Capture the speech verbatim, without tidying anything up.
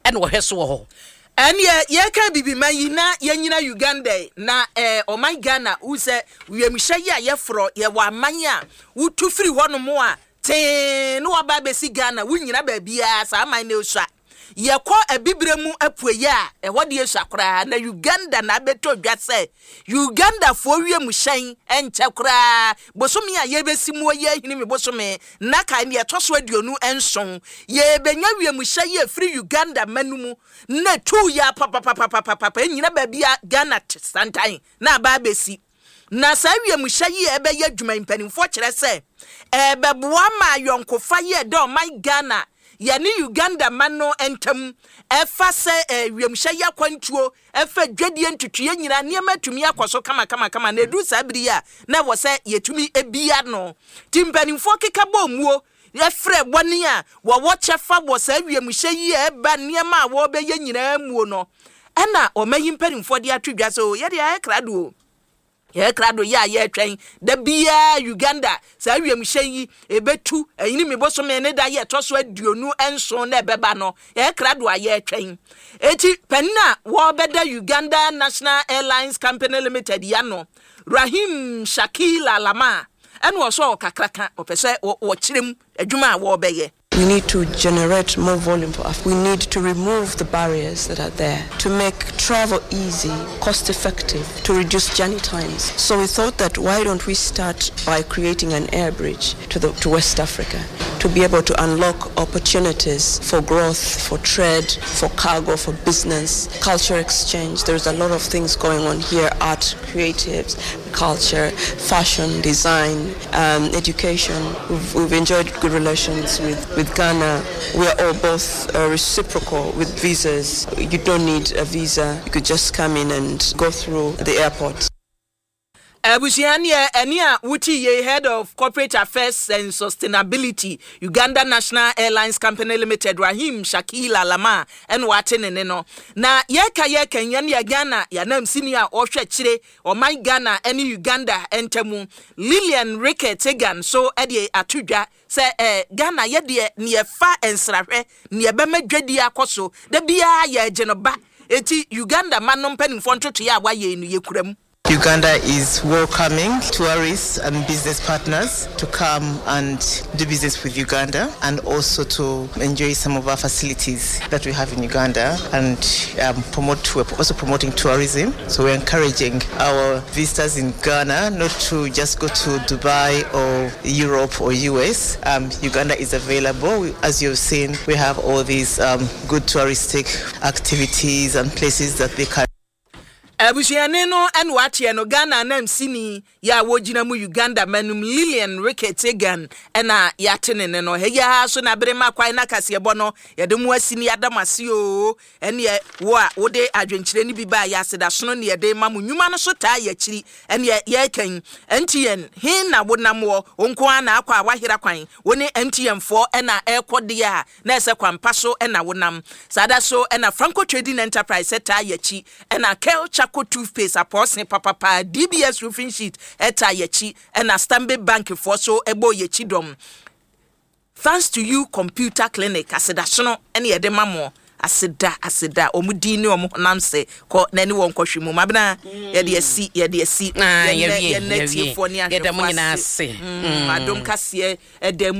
Ɛna wɔhwɛ so wɔ hɔ. Ɛneɛ yɛka bibiman yi na yɛnyina Uganda yi, na eh, ɔman Ghana wo sɛ wiemhyɛ yi a yɛforɔ, yɛwɔ aman a wotu firi hɔnom a tee ne waba abɛsi Ghana, wonyina baabiaa saa aman no esua. Yɛkɔ Abibire mu apueɛ a, ɛhɔ deɛ esua koraa, na Uganda na abɛtɔ dwa sɛ Ugandafoɔ wiemhyɛn nkyɛ koraa bosome a yɛbɛsi mu yɛ Ahinime bosome na kae ne ɛtɔ so aduonu nson, yɛbɛnya wiemhyɛn yi afiri Uganda ma no mu na tu yɛ papapapapapa nyina baabi a Ghana te santan na aba abɛsi. Na saa wiemhyɛ yi a ɛbɛyɛ adwuma, mpanimfoɔ kyerɛ sɛ ɛbɛboa ma ayɔnkofa yi a ɛda ɔman Ghana yɛne Uganda ma no ntam, ɛfa sɛ eh, wiemhyɛ yi akwantuo, ɛfa dwadie ntutuiɛ nyinaa, nneɛma atumi akɔ so kamakamakama. Na ɛduru saa bere yi a na ɛwɔ sɛ yɛtumi ebia no, nti mpanimfoɔ keka bɔ muo yɛfrɛ wɔne a wɔwɔ kyɛfa wɔ saa wiemhyɛ yi a ɛba, nneɛma a wɔrebɛyɛ nyinaa muo no, ɛna ɔma yi mpanimfoɔ de ato dwa so yɛde ayɛ krado o, yɛyɛ krado yɛ a yɛretwɛn da biara Uganda saa wiemhyɛn yi ɛbɛtu ɛyini mi bosome ne da yɛ ɛtɔ so aduonu nson na ɛbɛba no. Yɛyɛ krado a yɛretwɛn. Eti panin a wɔrebɛda Uganda National Airlines Company Limited ya no, Rahim Shakila Lama, ɛna ɔsɔ ɔkakraka ɔpɛ sɛ wɔkyerɛ mu adwuma a wɔrebɛyɛ. We need to generate more volume for Africa. We need to remove the barriers that are there to make travel easy, cost effective, to reduce journey times. So we thought that why don't we start by creating an air bridge to, the, to West Africa to be able to unlock opportunities for growth, for trade, for cargo, for business, culture exchange. There's a lot of things going on here: art, creatives, culture, fashion, design, um, education. We've, we've enjoyed good relations with, with Ghana. We are all both uh, reciprocal with visas. You don't need a visa. You could just come in and go through the airport. Abusua, neɛ ɛne a wote yei, Head of Corporate Affairs and Sustainability, Uganda National Airlines Company Limited, Rahim Shakila Lama, ɛna wate ne ne no. Na yɛka yɛka yɛn yɛ Ghana yɛnam sini a ɔhwɛ kyerɛ ɔman Ghana ne Uganda ntamu, Lilian Ricketts Egan, so ɛde ato dwa sɛ ɛɛ Ghana yɛdeɛ neɛ fa nsrahwɛ neɛ bɛma dwadie akɔ so da biara yɛgye no ba, eti Uganda ma no mpanimfoɔ ntotoeɛ a wayɛ no yɛkura mu. Uganda is welcoming tourists and business partners to come and do business with Uganda and also to enjoy some of our facilities that we have in Uganda and um, promote, we're also promoting tourism. So we're encouraging our visitors in Ghana not to just go to Dubai or Europe or U S. Um, Uganda is available. As you've seen, we have all these um, good touristic activities and places that they can Abusuane no ɛna wateɛ no, Ghana anam sini yɛ a wɔgyina mu Uganda manum, Lilian Ricketts Egan, ɛna yɛate ne ne no. Ɛyɛ so na bere ma kwan na kaseɛbɔ no yɛde mu asi ne yɛada mo ase o. Ɛneɛ wo a wode adwenkyerɛ no bi baa yɛ asedasono ne yɛde ma mo nnwuma no so taa yɛ akyiri. Ɛneɛ yɛrekɛn M T N he na wonam wɔ wo nko ara na akɔ a wahera kwan, wo ne M T N foɔ ɛna ɛrekɔ deɛ a na ɛsɛ kwampa so ɛna wonam saa da so. Ɛna Franco Trading Enterprise ɛtaa yɛ akyi, ɛna Kel Charcoal toothpaste apɔɔse papapa, D B S roofing sheet ɛtaa yɛ akyi, ɛna Stanbic Bank foɔ so ɛbɔ yɛ akyi dɔm. Thanks to You Computer Clinic, asedasono ɛne yɛde ma mo, aseda aseda ɔmo din ne ɔmo honam sɛ kɔ na ne wɔn kɔhwɛ mu mabena yɛde asi yɛde asi. Ah, yɛnnɛ yɛwie, yɛnnɛ yɛwie. tiefoɔ ne Yɛda mo ahwɛfoɔ nyinaa ase. ase. Mm, adom kaseɛ ɛda mu.